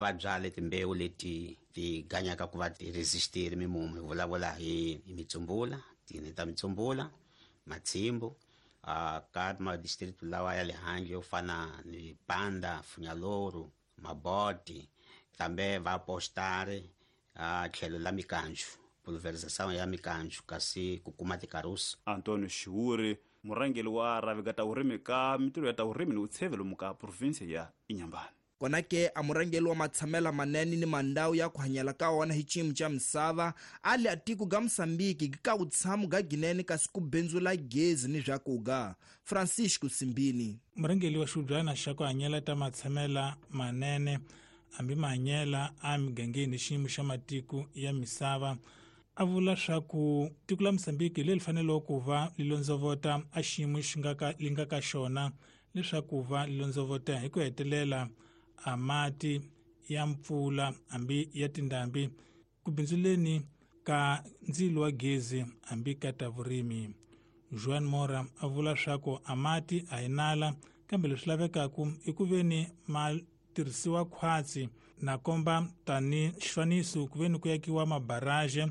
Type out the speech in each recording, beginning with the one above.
Va byale timbewu leti ti ganyaka ku va ti resistile mimumu. Hi vulavula hi mitsumbula, tini ta mitsumbula, matshimbu, ka ma-district lawa ya le handle yo fana ni Panda, Funyaloro, Maboti, kambe va postare a tlhelo la mikanju, pulverization ya mikanju kasi ku kuma tikarusi. Antonio Xiuri, murhangeri wa rhavi ka ta vurimi ka mintirho ya ta vurimi ni vutsheve lomu ka province ya Inhambane. Kona ke a murhangeri wa matshamela manene ni mandhawu ya ku hanyela ka wona hi xiyimo xa misava a li a tiko ga Mosambiki ka vutshamo ga ginene kasi ku bindzula gezi ni swakuga. Francisco Simbini. Murhangeri wa xihubyana xa ku hanyela ta matshamela manene hambi mahanyela a migangeni hi xiyimo xa matiko ya misava a vula swa ku tiko la Mosambiki leri faneleke ku va li londzovota a xiyimo xi nga ka li nga ka xona leswaku va li londzovota hi ku hetelela a mati ya mpfula hambi ya tindhambi ku bindzuleni ka ndzilo wa gezi hambi ka ta vurimi. Joan Mora a vula swa ku a mati a hi nala kambe leswi lavekaka i ku veni ma tirhisiwa khwatsi na komba tani xifaniso ku veni ku yakiwa mabaraje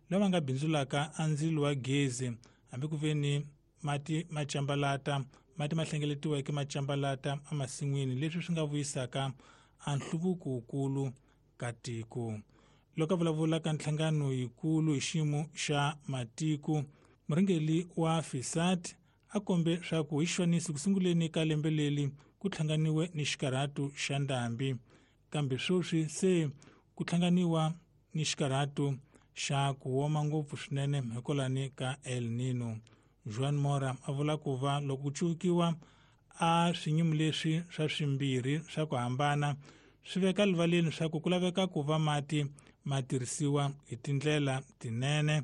lama nga bindzulaka a ndzilo wa gezi hambi ku veni mati ma cambalata, mati ma hlengeletiweke ma cambalata emasin'wini, leswi swi nga vuyisaka a nhluvuko wukulu ka tiko. Loko a vulavula ka nhlangano yikulu hi xiyimo xa matiko, murhangeri wa FISAT a kombe swa ku hi xifaniso ku sunguleni ka lembe leri ku hlanganiwe ni xikarhato xa ndhambi, kambe sweswi se ku hlanganiwa ni xikarhato xa ku woma ngopfu swinene hikwalani ka El Nino. Joan Mora a vula ku va loko ku cukiwa a swinyumu leswi swa swimbirhi swa ku hambana swi veka rivaleni swa ku ku laveka ku va mati ma tirhisiwa hi tindlela tinene,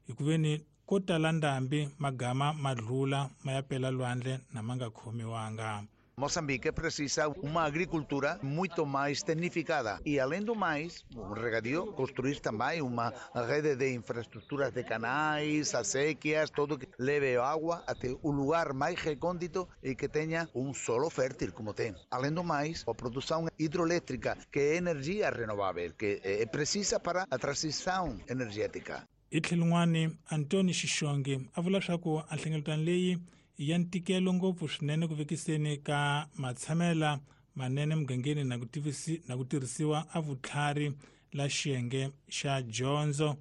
hikuveni ko tala ndhambi magama ma dlula ma ya pela lwandle na ma nga khomiwanga. Moçambique precisa uma agricultura muito mais tecnificada e, além do mais, o regadio, construir também uma rede de infraestruturas de canais, acequias, todo que leve água até o lugar mais recôndito e que tenha um solo fértil, como tem. Além do mais, a produção hidroelétrica, que é energia renovável, que é precisa para a transição energética. Hi tlhelo rin'wani, Antoni Xixonge a vula swa ku a nhlengeletano leyi ya ntikelo ngopfu swinene ku vekiseni ka matshamela manene mugangeni na ku tivisi na ku tirhisiwa a vutlhari la xiyenge xa dyondzo.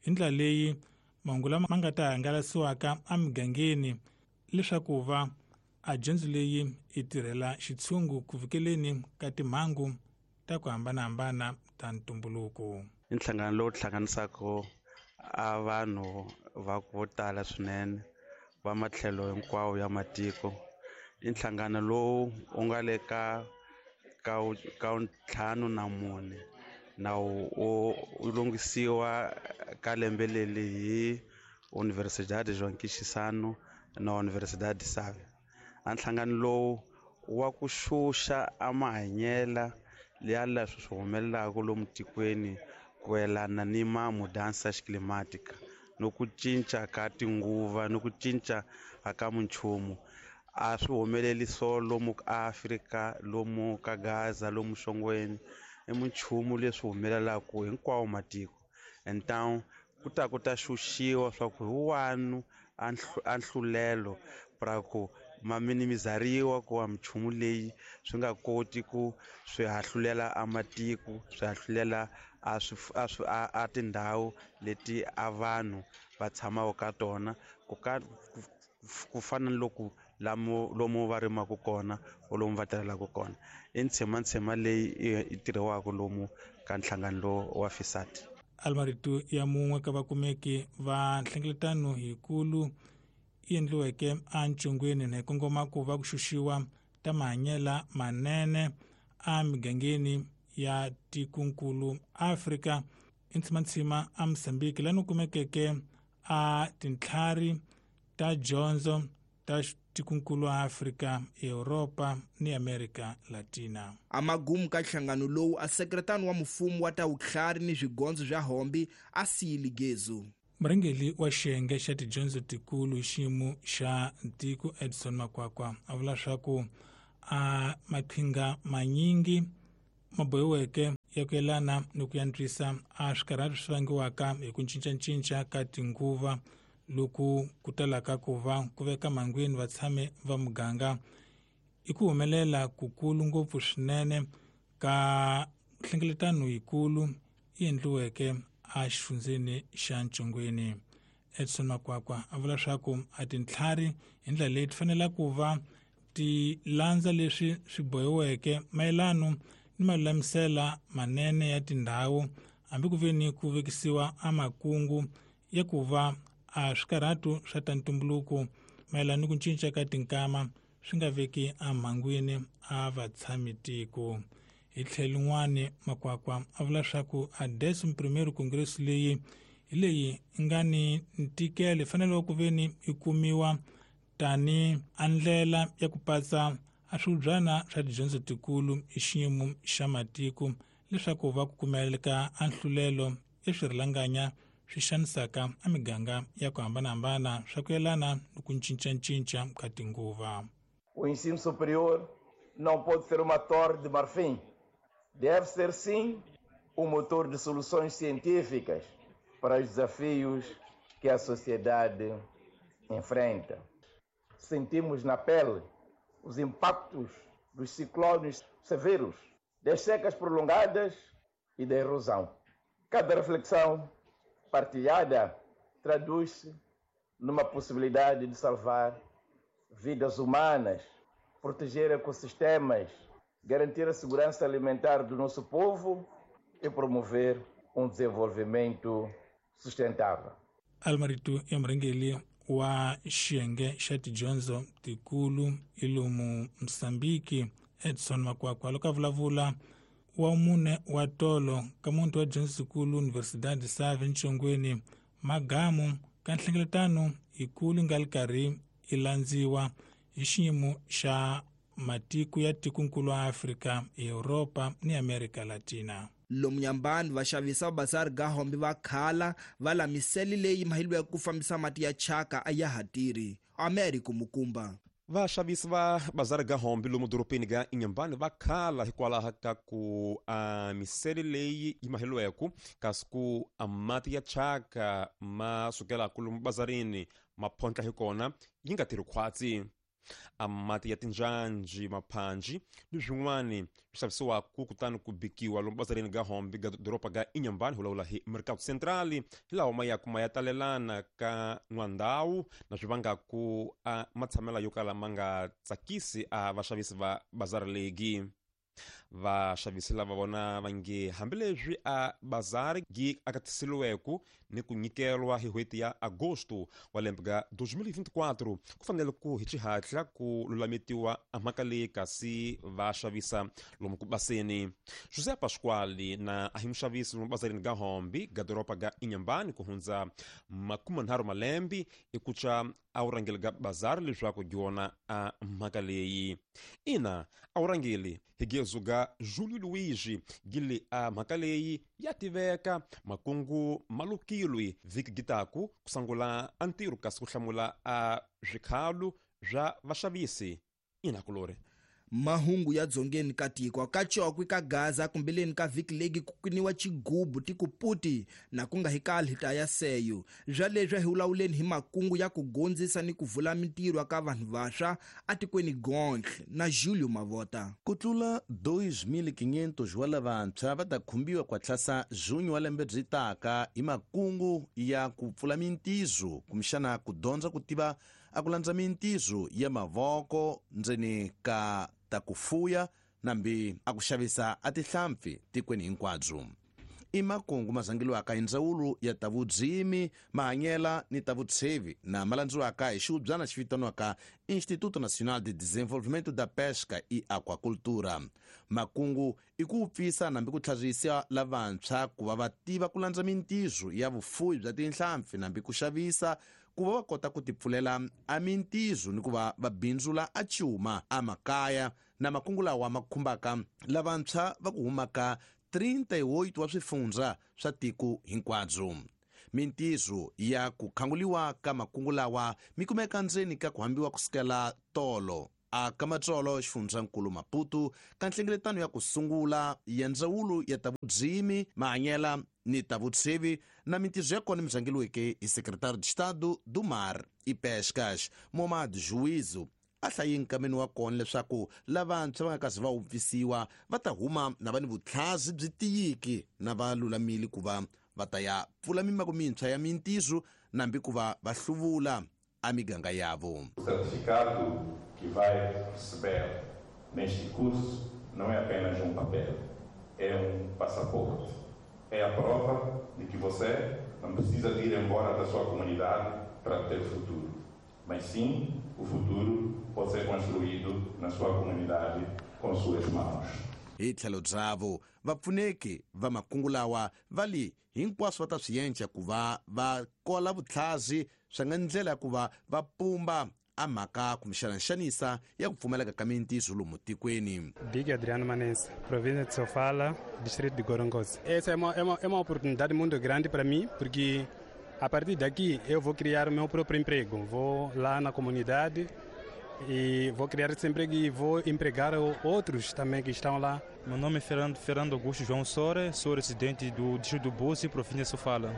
Hi ndlela leyi mahungu lama ma nga ta hangalasiwaka emugangeni leswaku va a dyondzo leyi yi tirhela xitshungu ku fikeleni ka timhangu ta ku hambanahambana ta ntumbuluko. I nhlangano lowu hlanganisaka a vanhu va vo tala swinene va matlhelo hinkwawo ya matiko. I nhlangano lowu wu nga le ka 54 na wu lunghisiwa ka lembe leri hi Universidade João Chissano na Universidade Save. A nhlangano lowu wa ku xuxa a mahanyela ya leswi swi humelelaka lomu tikweni ku yelana ni ma mudansa climatica no ku cinca ka tinguva no ku cinca ka minchumu. A swi humeleli so lomu Afrika, lomu ka Gaza, lomu Xongweni, i minchumu leswi humelelaka hinkwawo matiko. Então ku ta ku ta xuxiwa swa ku hi wanu a nhlulelo pra ku ma minimizariwa ku wa minchumu leyi swi nga koti ku swi hahlulela a matiko, swi hahlulela a swi a swi a tindhawu leti a vanhu va tshamaka ka tona, ku ka ku fana ni loko lomu va rimaka kona or lomu va tirhelaka kona. I ntshemantshema leyi yi tirhiwaka lomu ka nhlangano lowu wa FISAT. Almarito ya mun'we ka vakumeki va nhlengeletano yikulu yi endliweke entshungwini na hi kongoma ku va ku xuxiwa ta mahanyela manene emigangeni ya tikonkulu Afrika. I ntshimantshima a Mozambique lani kumekeke a tintlhari ta dyondzo ta tikonkulu Afrika, Europa ni Amerika Latina. Amagumu ka nhlangano lowu a sekretani wa mfumo wa ta vutlhari ni swigondzo swa hombi a siyile gezu. Murhangeri wa xiyenge xa tidyondzo tikulu hi xiyimo xa tiko Edson Makwakwa a vula swa ku a maqhinga manyingi Mabohiweke ya ku yelana ni ku antswisa a swikarhati swi vangiwaka hi ku cincacinca ka tinguva loku ku talaka ku va ku veka mangwini vatshami va muganga i ku humelela kukulu ngopfu swinene ka nhlengeletano yikulu yi endliweke a xifundzeni xa Ntshongweni. Edson Makwakwa a vula leswaku a tintlhari hi ndlela leyi ti fanele ku va ti landza leswi swi bohiweke mayelano ni malulamisela manene ya tindhawu hambi ku ve ni ku vekisiwa a makungu ya ku va a swikarhatu swa ta ntumbuluko mayelana ni ku cinca ka tinkama swi nga veki emhangwini a vatshami tiko. Hi tlhelo rin'wani Makwakwa a vula leswaku a 11º Congress leyi hi leyi nga ni ntikelo yi fanele ku ve ni yi kumiwa tani a ndlela ya ku patsa a swibyana swa tidyondzo tikulu hi xiyimo xa matiko leswaku va ku kumeleka a nhlulelo ya swirhalanganya swi xanisaka a miganga ya ku hambanahambana swa ku yelana ni ku cincacinca ka tinguva. O ensino superior não pode ser uma torre de marfim. Deve ser, sim, um motor de soluções científicas para os desafios que a sociedade enfrenta. Sentimos na pele os impactos dos ciclones severos, das secas prolongadas e da erosão. Cada reflexão partilhada traduz-se numa possibilidade de salvar vidas humanas, proteger ecossistemas, garantir a segurança alimentar do nosso povo e promover um desenvolvimento sustentável. Almarito Emrengeli wa xiyenge xa tidyondzo tikulu ilomu Mozambique Edson Makwakwa loko a vulavula wa mune wa tolo ka muti wa dyondzo tikulu Universidade Save Ntshongweni magamu ka nhlengeletano yikulu nga li karhi yi landziwa hi xiyimo xa matiko ya tikonkulu wa Afrika, Europa ni Amerika Latina. Lomu nyambani vaxavisi va bazari ga hombe va khala va lamiseli leyi mahiliweke ku fambisa mati ya chaka a ya ha tirhi. Americo Mukumba. Vaxavisi va bazari ga hombe lomu doropeni ga Inhambane va khala hikwalaho ka ku a misele leyi yi maheliweke kasi ku a mati ya chaka ma sukelaka lomu bazarini ma phontla hi kona yi nga tirhi khwatsi. A mati ya tinjanji maphanji ni swin'wani swi xavisiwaka kutani ku bikiwa lomu bazarini ga hombe ga doroba ga Inhambane hi vulavula hi Mercado Central hi lawa ma yaku ma ya talelana ka n'wandhawu na swi vangaku a matshamela yo kala ma nga tsakisi a vaxavisi va bazari legi. Vaxavisi lava vona va nge hambileswi a bazari gi akatisiliweke ni ku nyikelwa hi n'hweti ya agosto wa lembe ga 2024 ku fanele ku hi xihatla ku lulametiwa a mhaka leyi kasi va xavisa lomu ku baseni. José Pasquale na a hi muxavisi lomu bazarini ga Hombe ga doroba ga Inhambane ku hundza 30 malembe i ku tsa a wu rhangeli ga bazari leswaku dyona a mhaka leyi. Ina a wu rhangeli hi gezu ga Julio Luigi gili a mhaka leyi ya tiveka makungu malukilwi vhiki gitaku ku sangula a ntirho kasi ku hlamula a swikhalu swa vaxavisi. Ina kulori. Mahungu ya dzongeni ka tiko ka Chokwe ka Gaza kumbeleni ka vhiki legi ku kuniwa chigubu tikuputi na ku nga hikali hita ya seyo bya leswi hi vulavuleni hi makungu ya ku gondzisa ni ku vula mintirho ka vanhu vantshwa atikweni Gontle na Julio Mavota. Ku tlula 2500 wa lavantshwa va ta khumbiwa kwa tlhasa junho wa lembe byi taka hi makungu ya ku pfula mintizo kumbexana ku dyondza ku tiva a ku landza mintizo ya mavoko ndzeni ka ta ku fuya nambi a ku xavisa a tihlampfi tikweni hinkwabyo. I makungu ma zangeliwaka hi ndzawulo ya ta vudzimi mahanyela ni ta vutshevi na ma landziwaka hi xiubyana xi vitaniwaka Instituto Nacional de Desenvolvimento da Pesca e Aquacultura. Makungu i ku pfisa nambi ku tlharisa lavantshwa ku va va tiva ku landza mintizo ya vufuwi bya tinhlampfi nambi ku xavisa ku va va kota ku tipfulela a mintizo ni ku va va bindzula a cuma a makaya na makungu lawa ma khumbaka lavantshwa va ku humaka 38 wa swifundza swa tiko hinkwabyo. Mintizo ya ku khanguliwa ka makungu lawa mi kumeka ndzeni ka ku hambiwa kusukela tolo a Kamatsolo xifundzankulu Maputo ka nhlengeletano ya ku sungula ya ndzawulo ya ta vudzimi mahanyela ni ta vutshevi na mintirho ya kona mizangeliweke hi Secretário de Estado do Mar e Pescas Momad Juízo a hlayi nkameni wa kona leswaku lavantshwa va nga kazi va wupfisiwa va ta huma na va ni vutlhazi byi tiyiki na va lulamile ku va va ta ya pfula mimako mintshwa ya mintirho nambi ku va va hluvula a miganga yavo. O certificado que vai receber neste curso não é apenas um papel, é um passaporte. É a prova de que você não precisa de ir embora da sua comunidade para ter futuro, mas sim o futuro pode ser construído na sua comunidade com suas mãos. Hi tlhelo byavo vapfuneki va makungu lawa va li hinkwaswo va ta swi yenca ku va va kola vutlhazi swa nga ndlela ya ku va va pumba a mhaka kumbexana nxanisa ya ku pfumaleka ka mintirho lomu tikweni. Big Adriano Manense, província de Sofala, distrito de Gorongosa. Essa é uma oportunidade muito grande para mim, porque a partir daqui eu vou criar o meu próprio emprego. Vou lá na comunidade e vou criar esse emprego e vou empregar outros também que estão lá. Meu nome é Fernando Augusto João Sore, sou residente do distrito do Búzi, província de Sofala.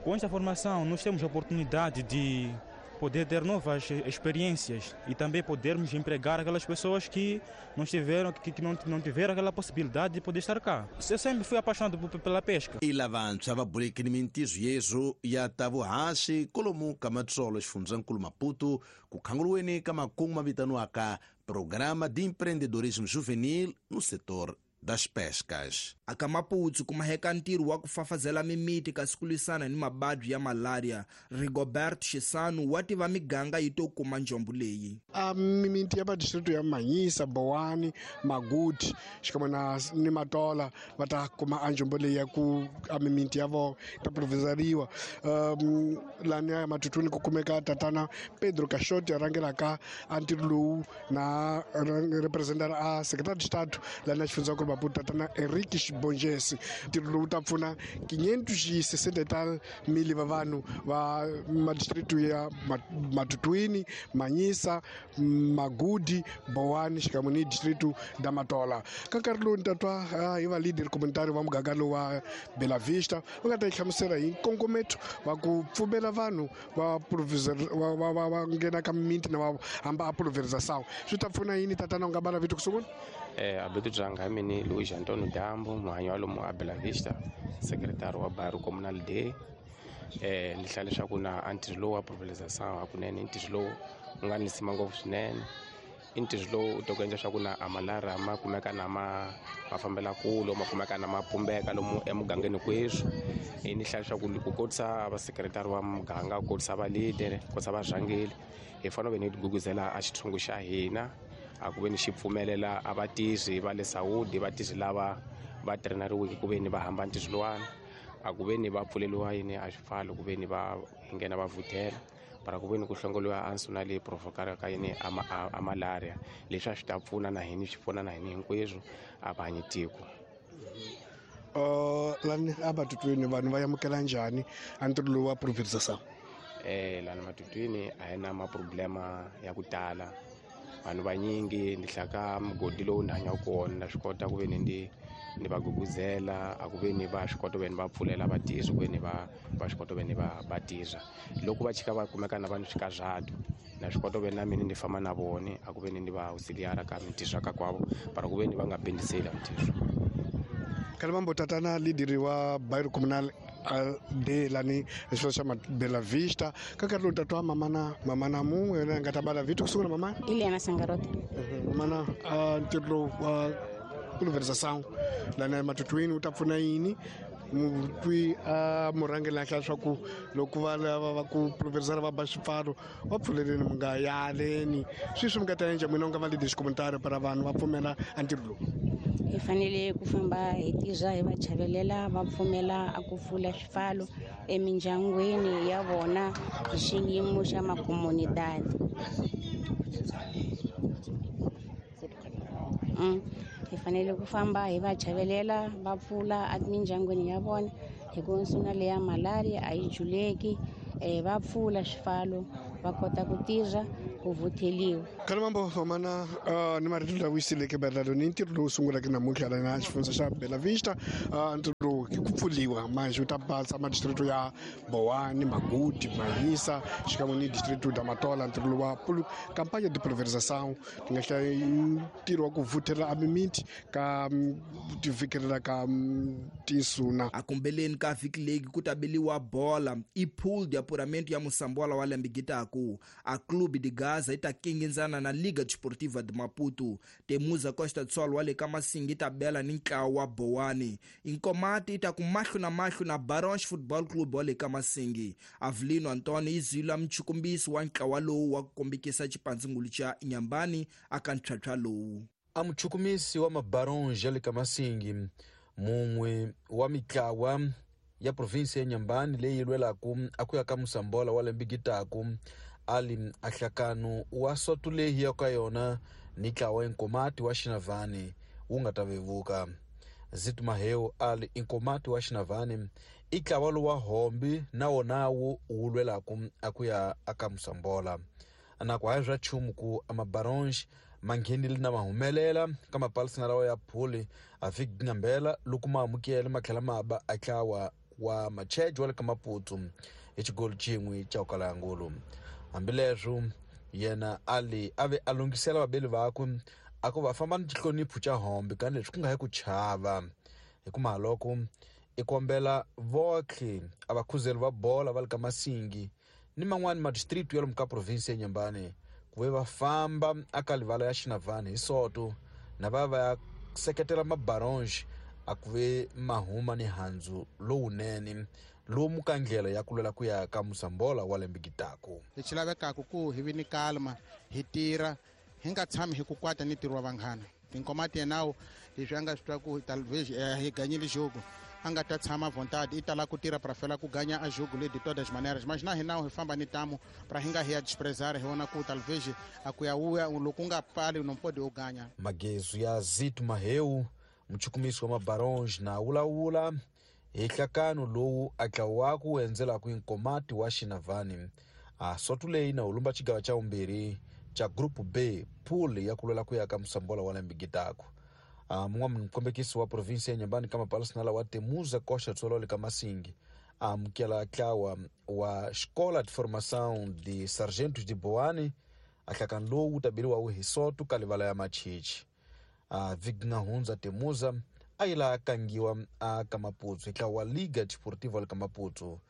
Com esta formação nós temos a oportunidade de poder ter novas experiências e também podermos empregar aquelas pessoas que não tiveram, que não tiveram aquela possibilidade de poder estar cá. Eu sempre fui apaixonado pela pesca. I lavantshwa va bulekini mintirho yeswo ya ta vuhaxi kolomu ka Matsolo xifundzankulu Maputo ku khanguriweni ka makungu ma vitaniwaka Programa de Empreendedorismo Juvenil no setor das pescas. Aka Maputo ku maheka ntirho wa ku fafazela mimiti kasi ku lwisana ni mababyi ya malaria. Rigobert Xisanu wa tiva miganga yi to kuma njombo leyi. A mimiti ya madistrito ya Manyisa, Bowani, Maguti xikan'we na ni Matola va ta kuma a njombo leyi ya ku a mimiti ya vona ta provizariwa. Lani ya Matutuni ku kumeka tatana Pedro Caixote a rhangelaka a ntirho lowu na representara a Secretary de Estado lani ya xifundzankulu Maputo tatana Henrique Bongesi. Ntirho lowu ta pfuna 560 mil va vanhu va madistrito ya Matutwini, Manyisa, Magudi, Bowani xikan'we ni distrito da Matola. Ka nkarhi lowu ni ta twa hi va leader communitary va muganga lowu wa Bela Vista va nga ta yi hlamusela hi nkongometo va ku pfumela vanhu va va nghena ka mimiti na va hamba a pulverização. Swi ta pfuna yini tatana u nga bala vito ku sungula? Abeto Dzanga mini Luiz Antônio Dambo, muhanyi wa lomu a Bela Vista, secretário wa bairro comunal D. Ni hlaya leswaku na a ntirho lowu wa pulverização hakunene i ntirho lowu wu nga ni nsima ngopfu swinene. I ntirho lowu u ta ku endla leswaku na a malaria ma kumeka na ma fambela kule, ma kumeka na ma pumbeka lomu emugangeni kweswi. Ni hlaya leswaku ku kotisa va secretary wa muganga, ku kotisa va leader, ku kotisa varhangeli, hi fanele ve ni guguzela a xithungu xa hina a ku ve ni xi pfumelela a vatirhi va le Saudi, vatirhi lava va traineriweke ku ve ni va hamba ntirho lowani, a ku ve ni va pfuleliwa yini a xipfalo ku ve ni va nghena va vuthela para ku ve ni ku hlongoliwa ansu na leyi provokaka yini a malaria. Leswi a swi ta pfuna na hini, swi pfuna na hini hinkweswo a va hanyi tiko. Lani a Matutwini vanhu va amukela njhani a ntirho lowu wa pulverização? Lani Matutwini a hi na maproblema ya ku tala. Vanhu vanyingi ni hlaka mugodi lowu ni hanyaka kona na swi kota ku ve ni ni va guguzela a ku ve ni va swi kota ku ve ni va pfulela vatirhi ku ve ni va swi kota ku ve ni va tirha. Loko va chika va kumeka na va ni swikarhato na swi kota ku ve na mina ni famba na vona a ku ve ni ni va auxiliara ka mintirho ka kwavo para ku ve ni va nga bindiseli mintirho. Kalimambo tatana leader wa bairro comunal de lani xilo xa Bela Vista ka nkarhi lowu tatwa mamana mun'we yena nga ta bala vito ku sungula mamana Eliana Sangarote. Mamana ntirho lowu wa pulverização lani Matutwini wu ta pfuna yini mutwi a murhangeli a hlaya leswaku loko va lava va ku pulverizara va ba xipfalo va pfuleleni mi nga yaleni sweswi mi nga ta endla n'wina u nga va leader xikomentari para vanhu va pfumela a ntirho lowu? Hi fanele ku famba hi tirha hi va chavelela va pfumela a ku pfula swipfalo emindyangwini ya vona hi xiyimo xa makomunidadi. Hi fanele ku famba hi va chavelela va pfula emindyangwini ya vona hi ku nsuna leya malaria a yi juleki, va pfula swipfalo Va kota ku tirha ku vutheliwa. Kalimambo mana ni marito lawa yiseleke maelana ni ntirho lowu sungulaka namuntlha na xifundza xa Bela Vista. Ntirho lowu ku pfuliwa manje wu ta basa madistrito ya Boane, Maguti, Manhiça xikan'we ni distrito da Matola. Ntirho lowu wa kampanya de pulverização ti nga hlaya ntirho wa ku vuthela a mimiti ka tivikelela ka tinsuna. Akumbeleni ka vhiki leyi ku ta beliwa bola i pool de apuramento ya Moçambola wa lembe gitaku. A Clube de Gaza yi ta kingindzana na Liga Desportiva de Maputo. Temuza Costa do Sol wa le ka Masingi yi ta bela ni ntlawa wa Boane. Inkomati yi ta ku mahlo na mahlo na Barons Football Club wa le ka Masingi. Avelino Antonio yi zila mchukumbisi wa ntlawa lowu wa ku kombekisa xipandzingulu xa Inhambane aka ntlhantlha lowu. A muchukumisi wa mabarons ya le ka Masingi, mun'we wa mitlawa ya provinsi ya Inhambane leyi lwelaku a ku ya ka Moçambola wa lembe gitaku, ali ahlakano wa soto leyi ya ka yona ni ntlawa Inkomati wa Xinavane wu nga ta vevuka. Zito Maheu ali Inkomati wa Xinavane i ntlawa lowa hombi na wona wu lwelaku a ku ya aka Moçambola. Na ku hayi swa nchumu ku amabaronge ma nghenile na ma humelela ka mapalisana lawa ya phuli a vhiki ngambela loko ma amukele ma tlhela ma ba a ntlawa wa Machejo wa le ka Maputo hi xigolo xin'we xa ku kala ya ngulu. Hambileswo yena ali a ve a lunghisela vabeli vakwe a ku va famba ni xihlonipho xa hombi ka leswi ku nga hi ku chava. Hi ku mahaloko i kombela votlhe a vakhuzeli va bola va le ka Masingi ni man'wani madistrict ya lomu ka provinsi ya Inhambane ku ve va famba aka livala ya Xinavane hi soto na va va ya seketela mabaronge a ku ve mahuma ni handzu lowunene lomu ka ndlela ya ku lwela ku ya ka Moçambola wa lembe gitaku. Lexi lavekaka ku hi vi ni kalma hi tirha hi nga tshami hi ku kwata ni ntirho wa vanghana. Tinkomati yenawo leswi a nga swi twa ku talvez hi ganyile jogo a nga ta tshama vontade i tala ku tirha para fela ku ganya a jogo le de todas maneiras, mas na hina hi famba ni tamo para hi nga hi ya desprezar hi vona ku talvez a ku ya uya loko u nga pfali no pode u ganya. Magezu ya Zito Maheu muchukumisi wa mabaronge na wulawula hi nhlakano lowu a ntlawa ku endzelaka Inkomati wa Xinavane. A soto leyi na hulumba xigava xa vumbirhi xa Group B pool ya ku lwela ku ya ka Moçambola wa lembe gitaku. Mun'wana mukombekisi wa provinsi ya Inhambane ka mapalisana lawa Temuza Costa do Sol le ka Masingi a amukela ntlawa wa Escola de Formação de Sargentos de Boane. A nhlakano lowu wu ta beriwa hi soto ka livala ya Machichi. A vhiki hundza Temuza a yi la kangiwa a ka Maputo hi ntlawa wa Liga Desportiva le ka Maputo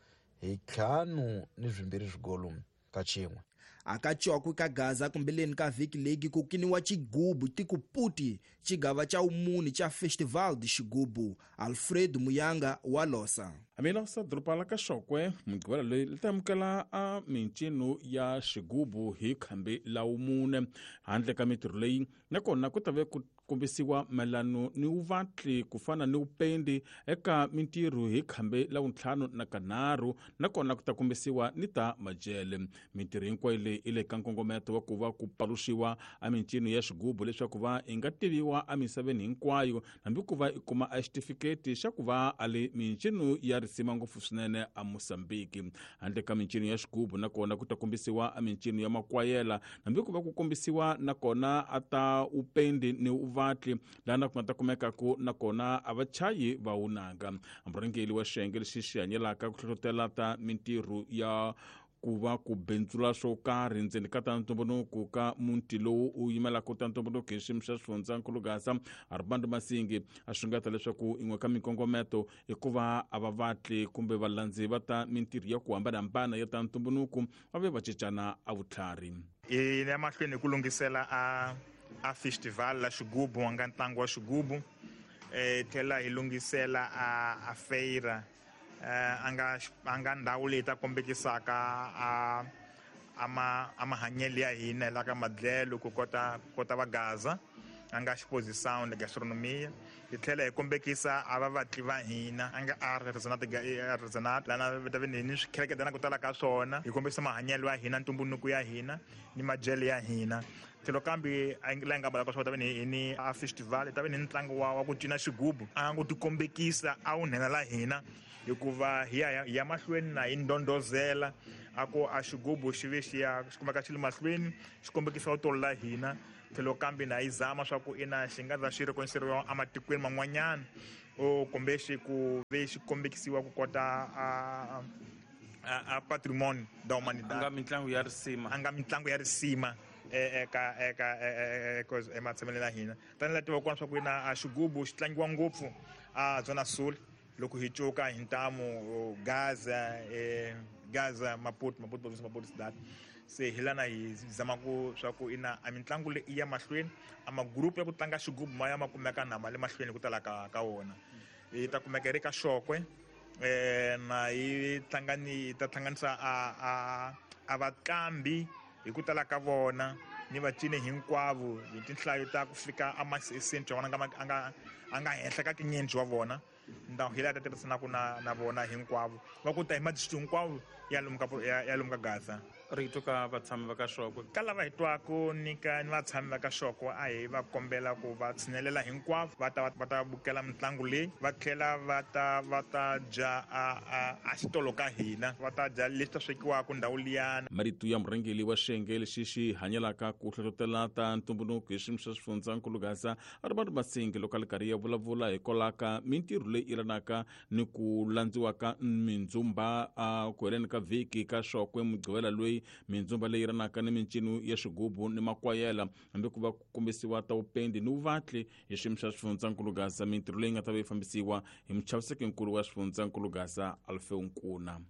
hi 5-2 swigolo ka xin'we. Akachokwe ka Gaza kumbeleni ka vhiki leyi ku kiniwa xigubu tikuputi xigava xa umuni xa Festival de Xigubu. Alfredo Muyanga wa Losa. Amilosa doroba la ka Xokwe mugqivela loyi li ta amukela a mincino ya xigubu hi khambi la wumune. Handle ka mintirho leyi nakona ku ta ve ku kombisiwa mayelano ni vuvatli ku fana ni vupendi eka mintirho hi khambi la vuntlhanu na kanharhu, nakona ku ta kombisiwa ni ta majele. Mintirho hinkwayo leyi i le ka nkongometo wa ku va ku paluxiwa a mincino ya xigubu leswaku va i nga tiviwa emisaveni hinkwayo, hambi ku va i kuma a xitifiketi xa ku va a le mincino ya risima ngopfu swinene a Mozambique. Handle ka mincino ya xigubu nakona ku ta kombisiwa a mincino ya makwayela, hambi ku va ku kombisiwa nakona a ta upendi ni uvatli lana ku nga ta kumekaku nakona a vachayi va wunanga. Murhangeri wa xiyenge lexi xi hanyelaka ku hlohlotela ta mintirho ya ku va ku bindzula swo karhi ndzeni ka ta ntumbuluko ka muti lowu u yimelaka ta ntumbuluko hi xiyimo xa xifundzankulu Gaza Armando Masingi a xungeta leswaku yin'we ka minkongometo i ku va a va vatli kumbe valandzi va ta mintirho ya ku hambanahambana ya ta ntumbuluko va ve va cincana a vutlhari. Hi ya mahlweni hi ku lunghisela a festival la xigubu wa nga ntlangu wa xigubu, tlhela hi lunghisela a feira a nga ndhawu leyi ta kombekisaka a mahanyelo ya hina la ka madlelo ku kota va Gaza a nga exposição de gastronomia. Hi tlhela hi kombekisa a va vatli va hina a nga artisanat lana ta ve ni swikheleketana ku tala ka swona, hi kombisa mahanyelo ya hina, ntumbuluko ya hina ni madyelo ya hina. Tlhelo kambe la nga balaka swa ta ve ni a festival ta ve ni ntlangu wa ku cina xigubu a ngo tikombekisa a wu nhenha la hina, hikuva hi ya mahlweni na hi ndondozela A ku a xigubu xi ve xi ya xi kumeka xi le mahlweni xi kombekisa vutomi la hina tlhelo kambe na yi zama swa ku ina xi nga za xi rekonisiwa ematikweni man'wanyana o kumbe xi ku ve xi kombekisiwa ku kota a patrimoine da humanidade. A nga mitlangu ya risima. A nga mitlangu ya risima eka eka eka ematshameleni ya hina. Tanihi laha tivaka kona swa ku ina a xigubu xi tlangiwa ngopfu a Zona Sul loko hi cuka hi ntamu Gaza Gaza Maputo Maputo province Maputo cidade. Se hi lana hi zama ku swa ku ina a mitlangu leyi i ya mahlweni a magrupu ya ku tlanga xigubu ma ya ma kumeka na ma le mahlweni ku tala ka wona. Yi ta kumeka yi ri ka Xokwe na yi tlangani ta hlanganisa a vatlambi hi ku tala ka vona ni vacini hinkwavo hi tinhlayo ta ku fika a masenti wa vona a nga henhla ka tinyendzi wa vona. Ndhawu hi laha ta tirhisanaka na vona hinkwavo va ku ta hi madistrict hinkwawo ya lomu ka ya lomu ka Gaza. Rito ka vatshami va ka Xokwe. Ka lava hi twaka ni ka ni vatshami va ka Xokwe a hi va kombela ku va tshinelela hinkwavo va ta va ta bukela mitlangu leyi va tlhela va ta dya a xitolo ka hina va ta dya leswi ta swekiwaka ndhawu liyana. Marito ya murhangeri wa xiyenge lexi xi hanyelaka ku hlohlotela ta ntumbuluko hi xiyimo xa xifundzankulu Gaza Robert Masingi loko a li karhi ya vulavula hikwalaho ka mintirho leyi yelanaka ni ku landziwa ka mindzumba a ku heleni ka vhiki ka Xokwe Mugqivela loyi mindzumba leyi yelanaka ni mincino ya xigubu ni makwayela hambi ku va ku kombisiwa ta vupendi ni vuvatli hi xiyimo xa xifundzankulu Gaza mintirho leyi nga ta va yi fambisiwa hi muchavisekinkulu wa xifundzankulu Gaza Alfeo Nkuna.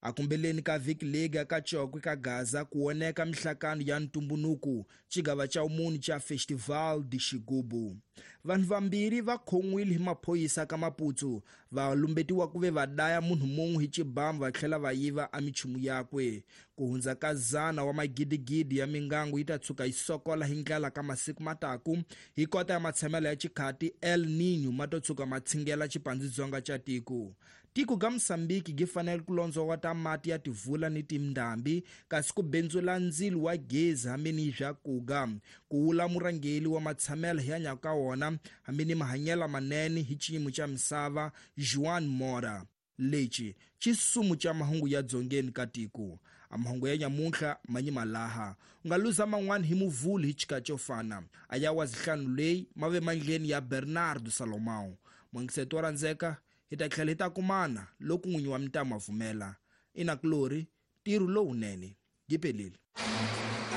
Akumbeleni ka vhiki lega ka Chokwe ka Gaza ku woneka mihlakano ya ntumbunuku xigava xa vumunhu xa Festival de Xigubu. Vanhu vambirhi va khon'wile hi maphorisa ka Maputo va lumbetiwa ku ve va daya munhu mun'we hi xibamu va tlhela va yiva a minchumu yakwe. Ku hundza ka 100 wa magidigidi ya mingangu yi ta tshuka yi sokola hi ndlala ka masiku mataku hi kota ya matshamelo ya xikhati El Niño ma to tshuka ma tshingela xipandzidzonga xa tiko. Tiko ga Mosambiki gi fanele ku londzova ta mati ya tivula ni tindhambi kasi ku bendzula ndzilo wa gezi hambi ni swa kuga ku wula murhangeri wa matshamelo hi hanyaka ka wona hambi ni mahanyelo manene hi xiyimo xa misava Juan Mora. Lexi xisumu xa mahungu ya dzongeni ka tiko. A mahungu ya nyamuntlha manyima laha u nga luza man'wana hi muvhulu hi xikatsi xo fana a ya wa zihlanu leyi ma ve mandleni ya Bernardo Salomão. Mwangiseto wa rhandzeka hi ta tlhela hi ta kumana loko n'winyi wa mintamu a pfumela. Ina Glory, ntirho lowunene. Yi pelile.